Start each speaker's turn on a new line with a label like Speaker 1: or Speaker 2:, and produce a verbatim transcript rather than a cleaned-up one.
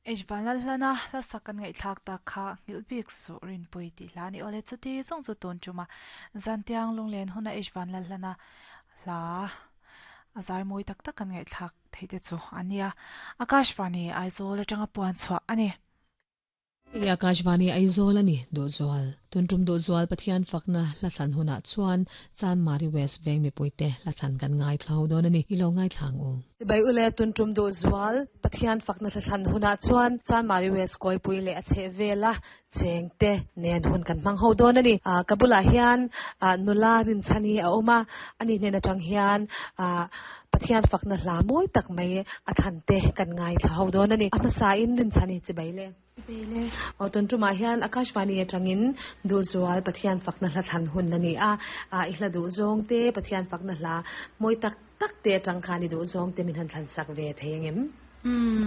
Speaker 1: H vanlalhlana hla sak kan ngaihthlak tak kha nghilh su rinpui tih hla ni awle chuti zawng chu tun tuma zantiang lunglen huna H vanlalhlana hla a zai mawi tak tak kan ngaihthlak thei te chu ania Akashvani Aizawl atanga puan chhuah ani.
Speaker 2: Akashvani Aizawl ani Duhzual tuntum Duhzual Pathian fakna hla huna chuan Chanmari West Veng mi puite hla thlan kan ngai thlau don ani ilo ngai thlang u bai ule tuntum Duhzual Pathian fakna hla huna chuan Chanmari West koi pui le a che vela chengte nen hun kan mang ho don ani a kabula hian nula rin chani a oma ani hnen atang hian a Pathian fakna hla moi tak mai a thante kan ngai thlau don ani a sa in rin chani chi bai le
Speaker 3: Bele.
Speaker 2: O tun tuma hian Akashvani atangin Duhzual Pathian fakna hla thlan hun ani a a i hla du zawng te Pathian fakna hla moi tak tak te atang khani du zawng te min han thlan sak ve thei angem?
Speaker 3: Hmm.